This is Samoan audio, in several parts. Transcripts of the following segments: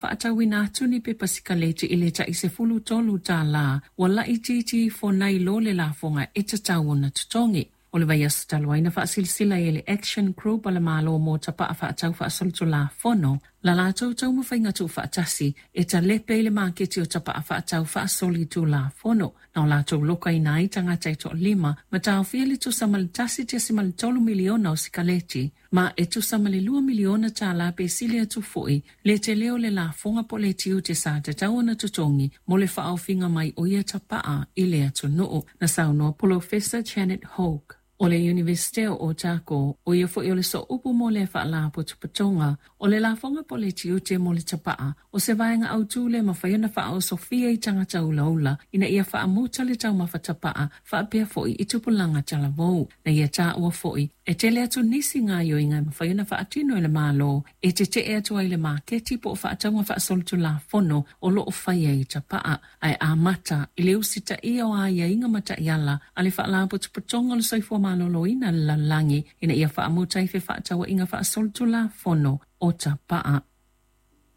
Faatauina atu ni pepa sikaleti i le tai $13, ua laitiiti ifo nai lo le lafoga e tatau ona totogi. O le vaiaso talu ai na faasilasila ai e le Action Group a le Malo mo Tapa'a Faatau Faasolitulafono la latou taumafaiga tuufaatasi e talepe i le maketi o tapa'a faatau faasolitulafono na o latou lokaina ai tagata e toalima ma taofia le tusa ma le 1.3 miliona o sikaleti ma e tusa ma le $2 miliona pe sili atu foi le tele o le lafoga po o le tiute sa tatau ona totogi mo le faaofiga mai o ia tapa'a i le atunuu. Na saunoa Polofesa Janet Hoke o le Iunivesite o Otago, o ia foi o le sooupu mo lea faalapotopotoga, o le lafoga po o le tiute mo le tapa'a, o se vaega autū le mafai ona faaosofia i tagata ulaula ina ia faamuta le taumafa tapa'a faapea foi i tupulaga talavou. Na ia taua foi, e tele atu nisi gaoioiga e mafai ona faatino e le Malo e tete'e atu ai le maketi po o faatauga faasolitulafono o loo faia i tapa'a, ae amata i le usitaia o aiaiga ma taiala a le Faalapotopotoga o le Soifua Maloloina a le Lalolagi ina ia faamuta ai fefaatauaiga faasolitulafono o tapa'a.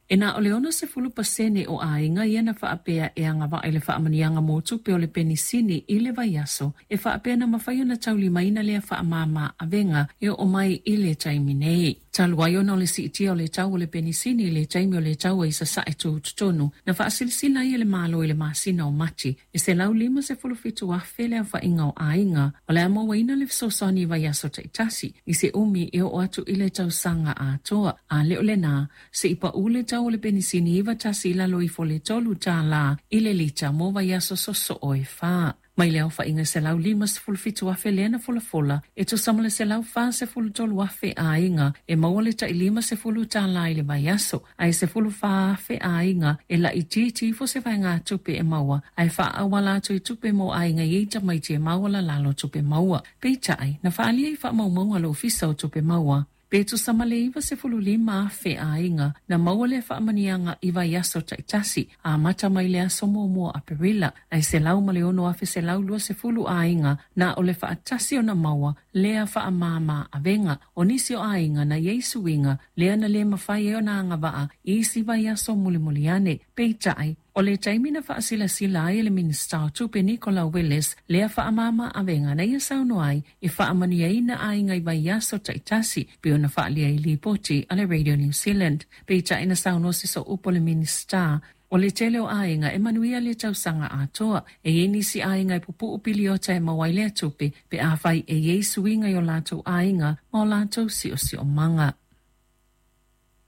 E na o le 60% o aiga ia na faapea e agavaa i le faamanuiaga mo tupe o le penisini i le vaiaso e faapea na mafai ona taulimaina lea faamama avega e oo mai i le taimi nei. Talu ai ona o le siitia o le tau o le penisini i le taimi o le taua i Sasae tutotonu, na faasilasila ai e le Malo i le masina o Mati e 157,000 le aofaiga o aiga o le a mauaina le fesoasoani i vaiaso taitasi i se umi e oo atu i le tausaga atoa. A le o lena, se i pau le tau o le penisini 91 i lalo ifo le $3 i le lita mo vaiaso sosoo e 4. Mai le aofaiga 157,000 lea na folafola, e tusa ma le 143,000 aiga e maua le tai $50 i le vaiaso, ae 14,000 aiga e laitiiti ifo se vaegatupe e maua ae faaauala atu i tupe mo aiga e i ai tamaiti e maualalalo tupe maua. Peitai, na faaalia i faamaumauga a le Ofisa o Tupe Maua, pe tusa ma le 95,000 aiga na maua lea faamanuiaga i vaiaso taitasi amata mai le aso 1 Aperila, ae 106,120 aiga na o le faatasi ona maua lea faamama avega. O nisi o aiga na i ai suiga lea na le mafai ai ona agavaa i isi vaiaso mulimuli ane. Peitai, o le taimi na faasilasila ai e le Minisita o Tupe Nicola Willis lea faamama avega, na ia saunoa ai e faamanuiaina aiga i vaiaso taitasi, pei ona faaalia i lipoti a le Radio New Zealand. Peitai, na saunoa se sooupu o le Minisita, o le tele o aiga e manuia le tausaga atoa. E i ai nisi aiga e pupuu piliota e maua ai lea tupe pe afai e i ai suiga i o latou aiga ma o latou siosiomaga.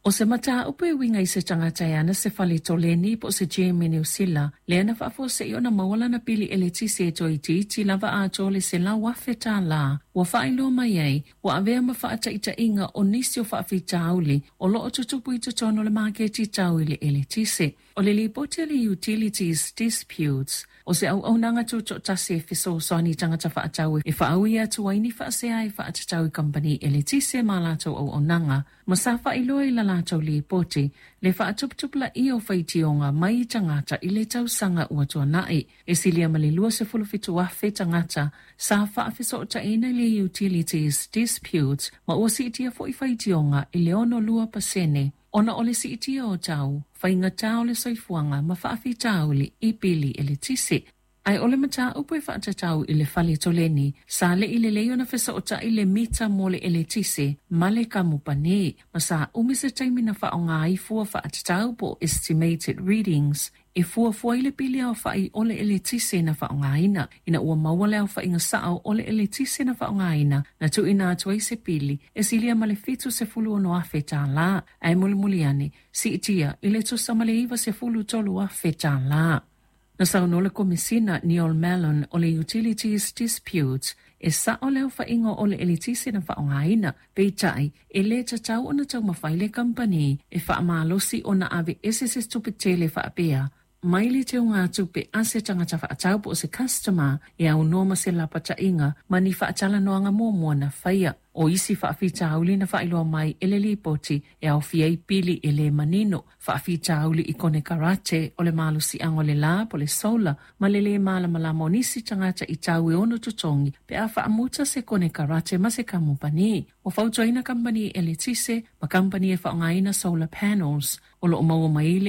O se mataupu e uiga i se tagata e ana se fale toleni po o se gym i Niu Sila, lea na faafuasei ona maua lana pili eletise e toeitiiti lava atoa le $100,000, ua faailoa mai ai ua avea ma faataitaiga o nisi o faafitauli o loo tutupu i totonu o le maketi tau i le eletise. O le lipoti a le Utilities Disputes, o se auaunaga tutoatasi e fesoasoani i tagata faatau e faaui atu ai ni faasea e faatatau i kamupani eletise ma latou auaunaga, ma sa faailoa i la latou lipoti le faatuputupulaia o faitioga mai i tagata i le tausaga ua tuanai. E silia ma le 27,000 tagata sa faafesootaina i le Utilities Disputes, ma ua siitia foi faitioga i le 62% ona o le siitia o tau, faigata o le soifuaga ma faafitauli i pili eletise. Ae o le mataupu e faatatau i le fale toleni, sa le i lelei ona fesootai le mita mo le eletise ma le kamupani, ma sa umi se taimi na faaaoga ai fua faatatau po o estimated readings e fuafua ai le pili aofai o le eletise na faaaogaina. Ina ua maua le aofaiga sao o le eletise na faaaogaina, na tuuina atu ai se pili e silia ma le $76,000, ae mulimuli ane siitia i le tusa ma le $93,000. Na saunoa le Komisina Neil Mallon o le Utilities Disputes, e sao le aofaiga o le eletise na faaaogaina, peitai e le tatau ona taumafai le kamupani e faamalosi ona aveese se tupe tele faapea mai le teugatupe a se tagata faatau po o se customer e aunoa ma se lapataiga ma ni faatalanoaga muamua na faia. O isi faafitauli na faailoa mai e le lipoti e aofia ai pili e le manino, faafitauli i konekarate o le malosiaga o le la po o le solar, ma le lē malamalama o nisi tagata i tau e ono totogi pe a faamuta se konekarate ma se kamupani. Ua fautuaina kamupani eletise ma kamupani e faaaogaina solar panels o loo maua mai le